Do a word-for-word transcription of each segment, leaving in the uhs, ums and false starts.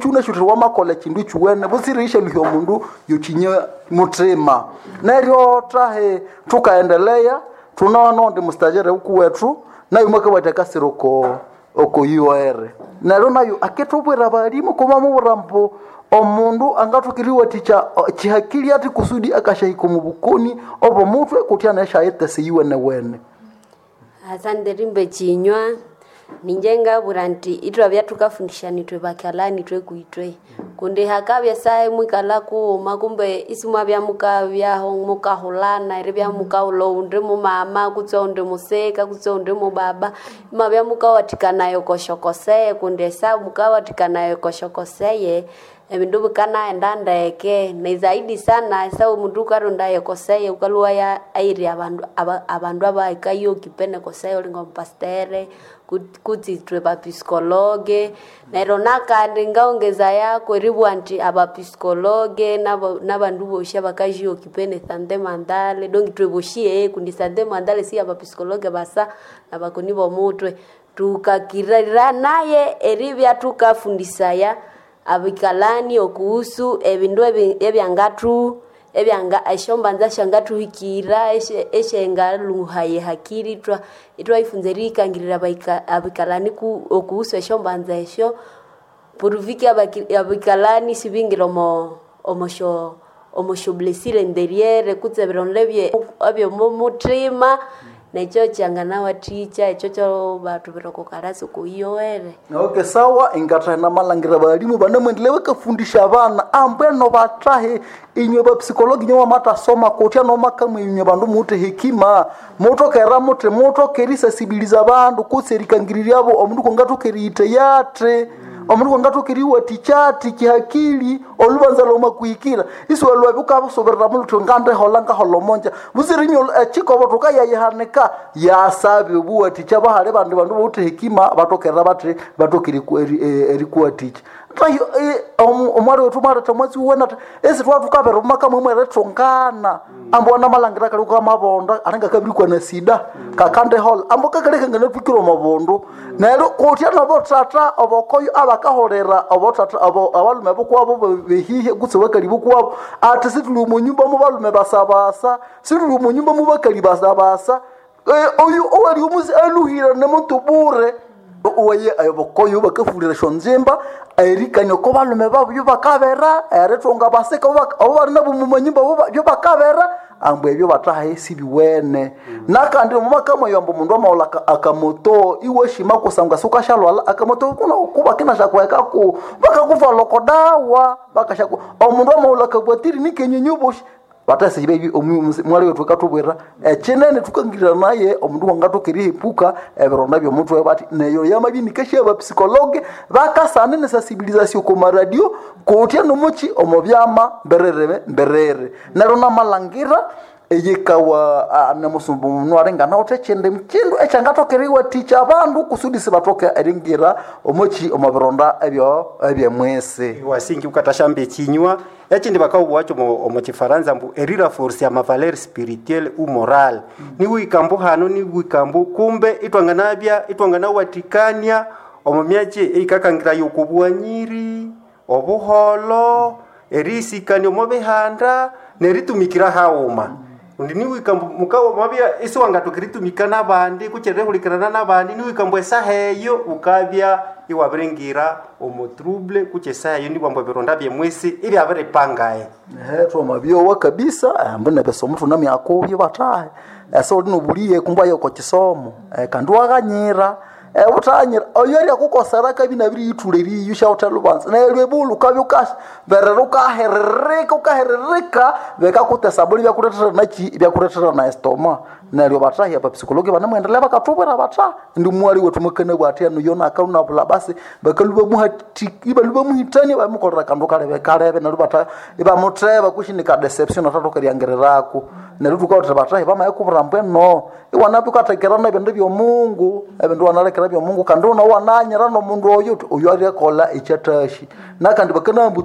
Ukyunashuthira wamakola ekindu kyuwene butsira luhya omundu yokinya mutima. Neryo tahe tukaendelea tunaona ndi mustajere huku wetu nayo mwakabwata kasiro ko oko U R. Neryo nayo aketubwira abalimu kumamubura mbu omundu angathukiriwa ticha chihakili ati kusudi akashahika mu bukoni obo mutwe kutya neshayetese yiwene wene. Asante rimbe chinywa ninje ngabura nti itwabya tukafundishana itwe bakalani itwe kuitwe kundi hakabya sahe mwikala kuuma kumbe isimwabya mukabyaho mukahulana eribya mukahula undi mumama kutse undi musika kutse undi mubaba imwabya mukawathikanayo koshokoseye kundi esa mukawathikanayo koshokoseye ebindu bikanaghenda ndeke ni zaidi sana esa omundu ukaronda koseye ukalhuwa ya airi abandu aba, abandu abahikayo kipene koseye olinga omupastere kutsi ithwe bapsikologe. Neryo nakandi ngaongeza yako eribugha nti abapsikologe nabandu bosi abakajiyo kipene sante mandale donki ithwe bosi ehe kundi sante mandale si abapsikologe basa nabakoni bomutwe tukakirira naye eribya tukafundisaya abikalani okuhusu ebindu ebyangathu ebyanga esyombanza syangathuhikira esyengalhuhaya hakiri ithwa ithwayifunza eriyikangirira abikalani okuhusu esyombanza esyo puruviki abikalani sibingira omo omosyo omosyo blessure interiere kutse ebironda ebyomumuthima nekyo kyanganawathikya ekyo kyobathubira oko kalasi okuiyowere. Okay, sawa ingathahena malangira balimu banemwendele bakafundisha abana ambweno batahe inywe bapsikologi inywe wamathasoma kutya nomakamwe inywe bandu muwithe hekima mutokera muthi mutokera erisasibiliza abandu kutse erikangiriryabo omundu kwangathoka eriyithe athi omundu kwangathoka eriwathikya kihakili olubanza lwamakuhikira isiwalwabya wukabusoberera mulhuthi ngandiholha ngaholha omonja butsira inywe ekikobo thukayayihanika yasabi obuwathikya bahali bandi bandu bawithe hekima batokera bathi batokera erikuwathikya. Omwali wethu mwaletha omwatsi wuwene athi esi thwathukabera omumaka mwemwe erithungana ambu wanamalhangira kali kamabonda alinga kabirikwa na sida kakandiholha ambu kakali kanganathukira omwabundu. Neryo kutya nobothatha obokoyo abakaholera obothatha abalume bukwabo behihe kutse bakali bukwabo athi sithuli omunyumba mubalume basabasa sithuli omunyumba mubakali basabasa oyu owali omusi aluhire nemuntu bure owaye obokoyo bakafulira esyonzimba erikania oko balume babu byobakabera erithunga basika abo bali nabo mumanyumba byobakabera ambu ebyo bathahe sibiwene. Nakandi omumaka mweyo ambu omundu amawulha akamoto iwashima kusangwa siwukashalwalha akamoto kuba kinashakuhekaku bakakuthwalha oko dawa bakashaku omundu amawulha akabwatiri nikenyonyi obosi batasibe ebi mwali wethu akathubwira ekinene thukangirira naye omundu wangathoka erihepuka ebironda byomutwe bathi neyo yamabya inikasya abapsikologe bakasana nesasibilizasyo oko maradio kutya nomuki omo byama mberere mberere. Neryo namalhangira eyikawa nemusumba omundu alinga anawithe ekyindi kindu ekyangathoka eriwathikya abandu kusudi sibathoke eringira omuki omo bironda ebyo ebyemwisi. Wasingi ukathashamba ekinywa ekindi bakawuwakyo omu kifaransa mbu eriraforce ama valeur spirituelle ou morale niwikambu hano niwikambu kumbe itwanganabya itwanganawathikania omu myatsi eyikakangiraya okubwanyiri obuholo erisikania omu bihanda neritumikira haghuma. Kundi niwikambu mukawa mabya isiwangathoka eritumika nabandi kutse erihulikirana nabandi niwikambu esaha eyo wukabya iwabiringira omu trouble kutse esaha eyo nibwambu ebironda byemwisi ibyabiripangaye. Ehe twamabyowa kabisa ambu nebisomo thunamyakubyo bathahe esa uli nobuliye kumbe aye oko kisomo kandi waghanyira wuthanyira oyo aryakukosera akabya inabiriyithulha eriyo syawuthe lubanza neryo ebulhu wukabya wukaberera wukaherereka wukaherereka bikakutesa buli ibyakulethera naki ibyakulethera na estoma. Neryo bathahi abapsikologi banemwendelea bakathubwira batha indi mwali wethu mwakanabugha athi enu yonakalunabulha basi bakalhwa ibalhwa bamuhithania bamukolera akandu kalebe kalebe neryo batha ibamutheba kutse nika deception athathoka eryangirirako. Neryo thukawatha bathahi bamayikubwira ambu eno iwanabya wukathekerana ebindu byomungu ebindu iwanalekera byomungu kandi iwananyira nomundu oyo wuthi oyu aryakolha ekyathasi. Nakandi bakanabugha ambu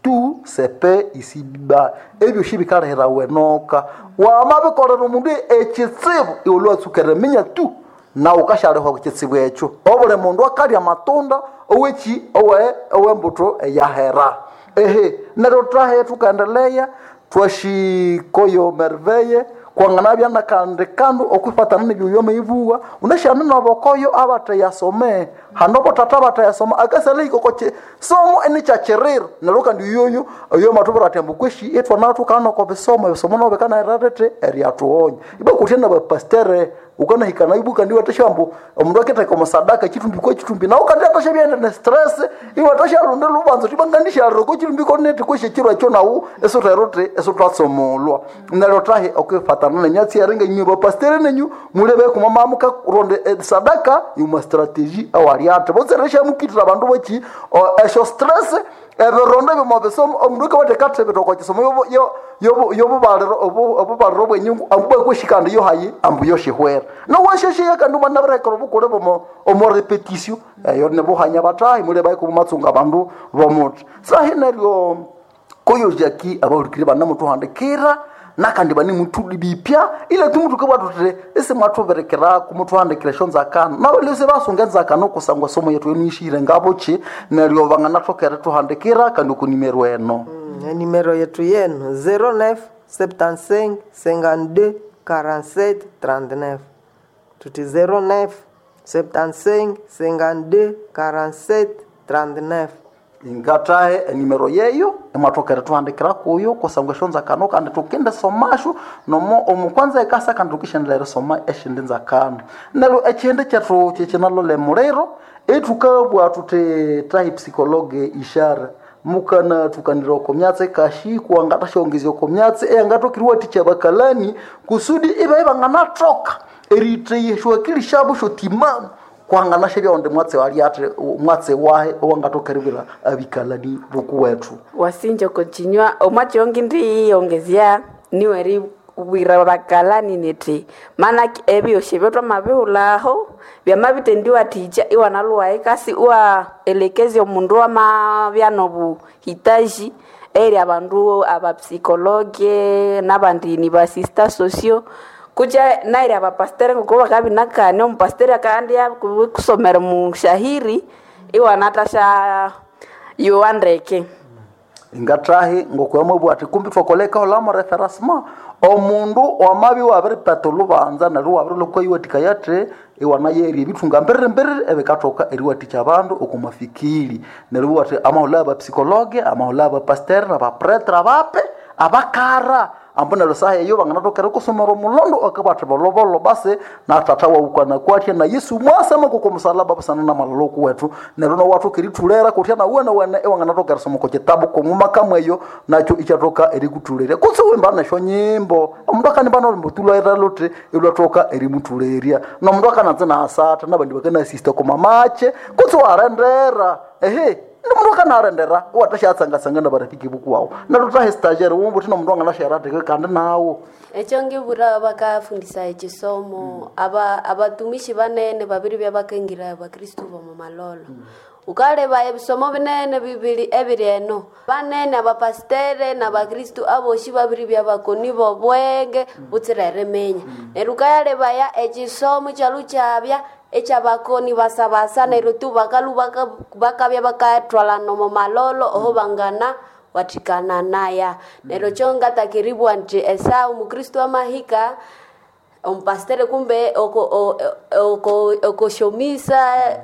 tu se paie ici-bas ebyosi bikalihirawa enoka wamabikolera omundu ekitsibu iwalhwa iwatsuka eriminya tu Na ukashalehwa kuchitsibu ekyo obuli mundu akalya amatunda owechi owe owembuto eyahera ehe neryo twahe tukaendelea twashikoyo merveye kwanganabya nakandi kandu okwifatana nebyoyo meibuwa unashana nobokoyo abateyasome hano botata bateyasoma akasala ikokoche somo enichachirira neryo kandi yoyo oyo matubura ati ambu kweshi itwana tukana ko bisomo ebisomo nobekana erarete eryatuonya iba kutya na bapastere ukanahikana ibuka ndiwe tashambu omundu akiteka omusadaka chitumbi kwa chitumbi nawe kandi atasha byenda ne stress iwe atasha runde lubanzo tibangandisha roko chitumbi konete kweshe chiro ekyo nawu esoterote esotwatsomolwa neryo tahe okwifatana nenyatsi yaringa inywe bapastere nenyu mulebe kumamamuka ronde eh, sadaka yuma strategy awaliate botseresha mukitira abandu bochi esho stress ebironda byomubisomo omundu akabatheka bitoko kisomo yobubaliro obubaliro bwenyungu ambu bwakweshikanda yo hayi ambu yoshihwera nowashesheya kandi omwana birekera obukule bomo omo repetition eyo nibuhanya batahi mule baiko mumatsunga abandu bomuthi sahi neryo koyojaki abahulikiri banamutuhandikira nakandi bane mutudi bipya ile tumutuke bwatutire ese mwathuberekeraku muthuhandikira esyo nzakano nabo lese basunga enzakano kusangwa somo yetu enishire ngabochi neryo banganathokere thuhandikira kandi okunimero eno Mm, nimero yetu yenu zero neuf septante-cinq cinquante-deux quarante-sept trente-neuf tuti zero neuf septante-cinq cinquante-deux quarante-sept trente-neuf ingatahe enimero yeyo emwathokere thuhandikira kuyo kusangwa esyo nzakano kandi tukinde somasho nomo omukwanza ekasa kandi tukishendera erisoma eshindi nzakano neryo ekyindi kyethu kyekinalole muliro ethukabwa thuthi tahi psikologe ishara mukana tukanira oko myatsi kashi kuwangatashongezya oko myatsi eyangatokiriwathikya bakalani kusudi iba ibanganathoka eritheya akili syabo syotimamu kwanganasha byawonde mwatsi waliate mwatsi wahe owangathokeribwira abikalani bokuwethu wasinja kochinywa omwachongi ndiyongezya niweri bwira bakalani niti maana ebyosi ebyo twamabihulaho byamabitendiwathikya iwanaluwaye kasi iwaelekezya omundu wamabya nobuhitaji eri abandu abapsikologe nabandi ni basista socio kucha nairi abapastere ngoko bakabinakania omupastere akandi kusomera mushahiri iwanatasha yowa ndeke ngatahi ngokwamabwa ati kumbi twakoleka holamo referasma omundu wamabi wabiripata olubanza neryo wabirilokwayiwathikaya iwanayeri ebithunga mbiriri mbiriri ebikathoka eriwathikya abandu okumafikiri neryo iwathi amahulho abapsikologe amahulho abapastere nabapretre abape abakara ambu neryo saha eyo banganatokera kusomera omulondo akabathi bolobolo basi na tata wawukana kwatya na Yesu mwasama koko musalaba busana na malalo kuwethu neryo nowathoka erithulera kutya na wene wene iwanganatokera soma oko kitabu komuma kamweyo nakyo ikyathoka erikuthulerya kutse wimba nesyo nyimbo omundu akanimba nolumbo tulwaira luthi ilwathoka erimuthulerya nomundu akananza naasatha nabandi bakanasista komamache kutse warendera ehe nomundu akanarendera iwathashatsangatsanga nabarafiki bukuwawu neryo thahe stagiaire wumbuthi nomundu anganasharateke kandi nawo ekyo ngibura bakafundisa ekisomo aba abatumishi banene babiri byabakengira abakristu bomu malolo ukaleba ebisomo binene bibiri ebiri eno banene abapastere nabakristu aboshi babiri byabakoni bobwenge butsira erimenya neryo ukayalebaya ekisomo kyalu kyabya ekyabakoni basabasa neryo tu bakalu baka- bakabya bakathwalana omu malolo oho bangana wathikana naya neryo kyo ngatakiribwa nti esa omukristu amahika omupastere kumbe oko- o- oko- okoshomisa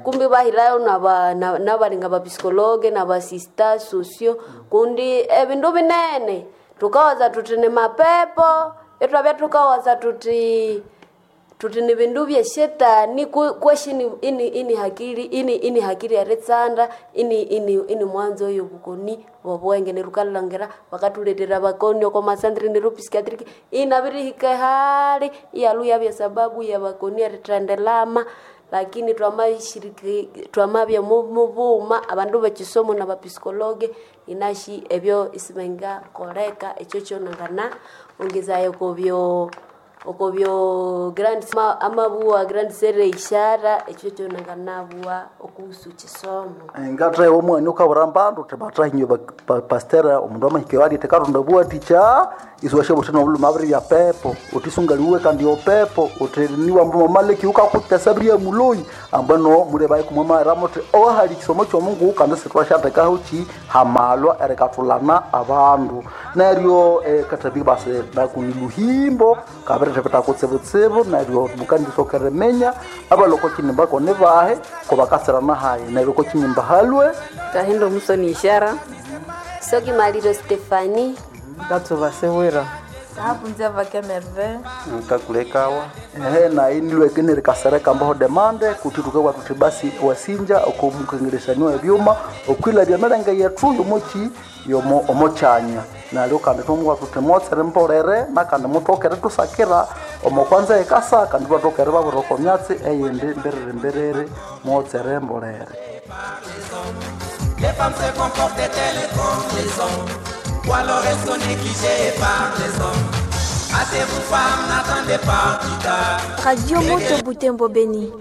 kumbe bahirayo naba- na- nabalinga bapsikologe nabasista sosio kundi ebindu binene tukawaza tuti ni mapepo itwabya tukawaza tuti tuti ni bindu bya shetani ku- kweshi ini, ini, ini hakili ini, ini hakili eritsanda ini, ini, ini mwanzo oyo bukoni bobwenge nerukalangira bakatuletera bakoni oko masandri neru psikiatric inabirihika hali iyaluya bya sababu ya bakoni erithendelama lakini twamashiriki twamabya mu- mubuma abandu bekisomo nabapsikologe inashi ebyo isibengakoleka ekyo kyonangana ongezayo kobyo okobyo grand ma- amabuwa grand sere ishara ekyo kyonanganabua okuhusu kisomo ngathaye omwani ukabura mbandu uthi bathahinywe pastera omundu amahikyo ali tekatonda bwatikya isiwasha buthi nobuluma abiri bya pepo uthi sungaliwe kandi opepo uthi niwa mamaleki ukakutesa biri muloyi ambano mule bayi kumwamara muthi owahali kisomo kyomungu kandi sitwashathekaho ki hamalwa erikathulana abandu neryo eh, katabi basi nakuni luhimbo kabirithepeta kutsibutsibu neryo mukandisokere menya abaloko kinimba kone bahe kobakasirana hayi neryo kokinyimba halwe kahindo omusoni ishara sokimaliro stefani Katsuva Sewira. Hapunzia vake Merve. nkakulekawa ehe nayi nilweke nerikasereka mbaho demande kuti tukabwa tuthi basi wasinja okomukengeresaniwa ebyuma okwilabya emirenge yethu yomoki yomo omokyanya nalyo kandi twamubwa tuthi motsere mbolere nakandi mutokere tusakira omo kwanza ekasa kandi twatokere babwira oko myatsi eyindi mbiriri mbiriri motsere mbolere Les femmes se comportent-elles comme les hommes Ou alors elles sont négligées par les hommes Hâtez-vous femmes, n'attendez pas plus tard Radio Moto Butembo Beni.